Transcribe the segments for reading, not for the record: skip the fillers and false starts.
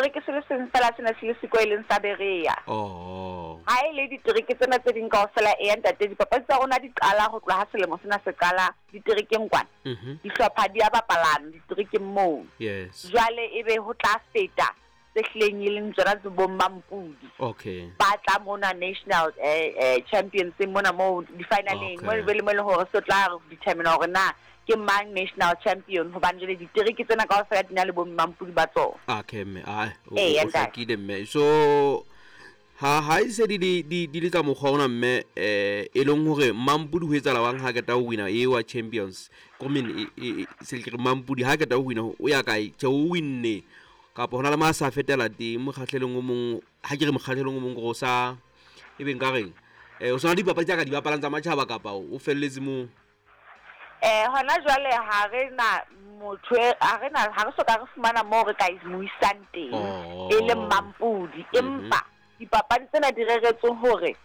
Setereke se le seng feela se ne se le siko e leng sa Berea. Oh. Ha e le ditereke tsena tse ding kaofela, eya ntate, dipapadi tsa rona di qala ho tloha ha selemo sena se qala diterekeng kwana. Dihlopha di a bapalana diterekeng moo. Yes. Jwale ebe ho tla feta tse hlileng e leng tsona tse bo Mampudi. Okay. Ba tla mona national champions mona moo di-finaleng, mo e be le mo e leng hore se tla determine hore na ke mang national champion, hobane jwale ditereke tsena kaofela di na le bo Mampudi ba tsona. Okay mme, ai, o Ee, o ntate. hlakile mme. So ha e se di le ka mokgwa ona mme, e leng hore Mampudi ho etsahala wang ha qeta ho wina e wa champions. Ko men e se ke re Mampudi ha qeta ho wina o ya kae? Tjhe, o winne. Kapa hona le ma sa fetela teng mokgahlelong o mong, ha ke re mokgahlelong o mong gore o sa e beng ka reng? O sona dipapadi tsa ka di bapalang tsa matjhaba kapa o felletse moo? Hona jwale ha re na motho e, ha re na, ha re soka re fumana moo re ka mo isang teng, Oh. e leng Mampudi. Empa dipapadi tsena di reretswe hore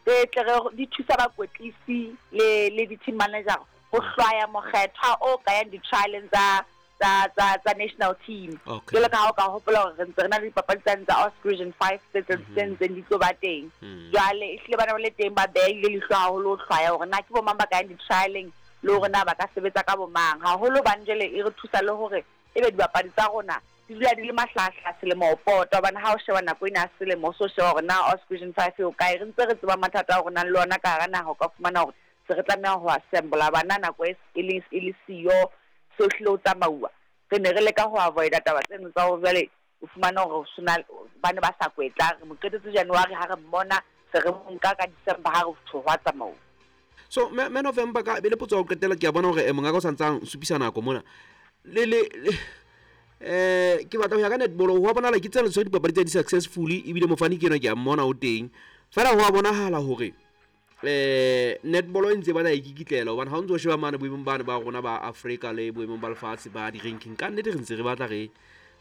tse tle re di thusa bakwetlisi le di-team manager ho hlwaya mokgethwa o ka yang di-trialeng tsa national team. Okay. Jwalo ka ha o ka hopola hore re ntse re na le dipapadi tsane tsa Oscar Region 5 tse ntseng di tlo ba teng. Jwale ehlile ba ne ba le teng, ba behile leihlo haholo ho hlwaya hore na ke bo mang ba ka yang di-trialeng le hore na ba ka sebetsa ka bo mang. Haholo hobane jwale e re thusa le hore ebe dibapadi tsa rona di dula di le mahlahahlaha selemo ho pota, hobane ha o sheba nako ena ya selemo, o so sheba hore na Oscar Region 5 e ho kae. Re ntse re tseba mathata a rona le ona ka hara naha, o ka fumana hore se re tlameha ho assembla bana nako e e le, e le siyo, so hlile ho tsamauwa. Re ne re leka ho avoida taba tseno tsa hore jwale o fumana hore ho sena, ba ne ba sa kwetla. Re mo qetetse January ha re mmona, se re mo nka ka December ha re tho hwa tsamauwa. So, me November ka, be le potso ya ho qetela, ke a bona hore, mongaka o sa ntsang supisa nako mona. Le, le, le, ke batla ho ya ka netball, ho a bonahala ke tsela tse dipapadi tse di successfully, ebile mofani ke enwa ke a mmona o teng. Feela ho a bonahala hore, netball e ntse e batla e kikitlela, hobane ha o ntso sheba mane boemong bane ba rona ba Afrika le boemong ba lefatshe ba di-ranking, ka nnete re ntse re batla re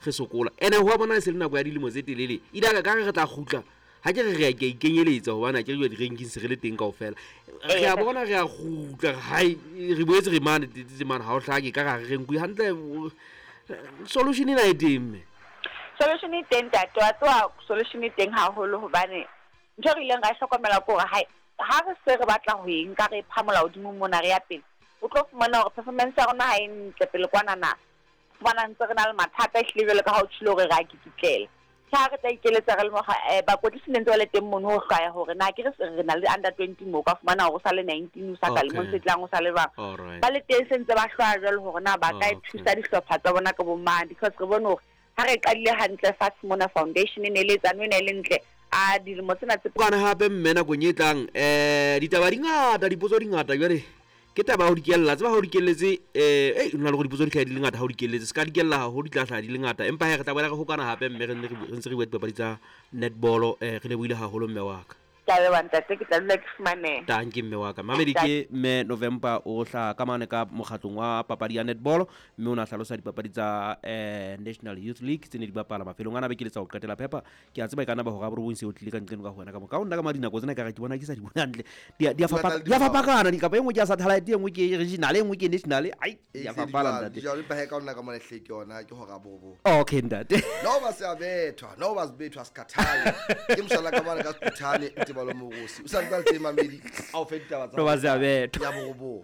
sokola. Ene ho a bonahala e se le nako ya dilemo tse telele. Ile ka ka re re tla kgutla, ha ke re re a ke a ikenyeletsa, hobane ha ke re jwale di-ranking se re le teng kaofela. Re a bona re a kgutla, hai, re boetse re mane, tse mane, ha o hlake, ka re re nkuwe hantle, solution ena e teng mme? Solution e teng ntate, wa tseba solution e teng haholo, hobane ntho e re ileng ra e hlokomela ke hore ha re se re batla ho e nka re e phamola hodimo mona re ya pele, o tlo fumana hore performance ya rona ha e ntle pele kwana na. Fumana ntse re na le mathata ehlile jwalo ka ha o tjhilo hore re a kikitlela. Ke ha re tla ikeletsa re le mokga, bakwetlisi ne ntse ba le teng mono ho hlwaya hore na ke re se re na le under 20 moo, o ka fumana hore o sa le 19, o sa ka lemong se Okay. tlang, o sa le jwang. All right. Ba le teng se ntse ba hlwaya jwalo hore na ba ka Okay. thusa dihlopha tsa bona ka bo mang, because re bone hore ha re qadile hantle fatshe mona foundation e ne le etsane, e ne le ntle. A dilemo tsena tse Kana hape mme nakong e tlang, ditaba di ngata, dipotso di ngata jwale. Ke taba ya ho di kella, tseba ha o di kelletse, ei, ho na le hore dipotso di hlaha di le ngata ha o di kelletse. Se ka di kella haholo, di tla hlaha di le ngata. Empa he, re tla boela re hokana hape mme re nne re ntse re bua dipapadi tsa netball, re lebohile haholo mme wa ka. Ke a leboha ntate, ke tla dula ke fumaneha. Tanki mme wa ka. Mamedi ke mme November o hlaha ka mane ka mokgatlong wa papadi ya netball, mme o na hlalosa dipapadi tsa, National Youth League tse ne di bapala mafelong ana beke le tsa ho qetela phepa. Ke a tseba e ka nna ba hora ya borobong se o tlile ka nqeno ka ho wena ka mo. Ka ho nna ka ma dinako tsena ka re ke bona ke sa di bone hantle. Di a, di a Di batla fapana, le di a di fapakana, di kapa e nngwe ke ya satellite, e nngwe ke regional, e nngwe ke national. Ai, E di a se di fapana, jwalo, ntate. di jwalo, empa he ka ho nna ka mona ehlile ke yona, ke hora ya borobong. Okay, ntate. No ba se a bethwa, no ba se bethwa, se khathale. Ke mosala ka mane ka Sephuthane, Ntebalo Morosi. O sa ntse a le teng, Mamedi, a o fe ditaba tsa No ba se a bethwa. ya borobong.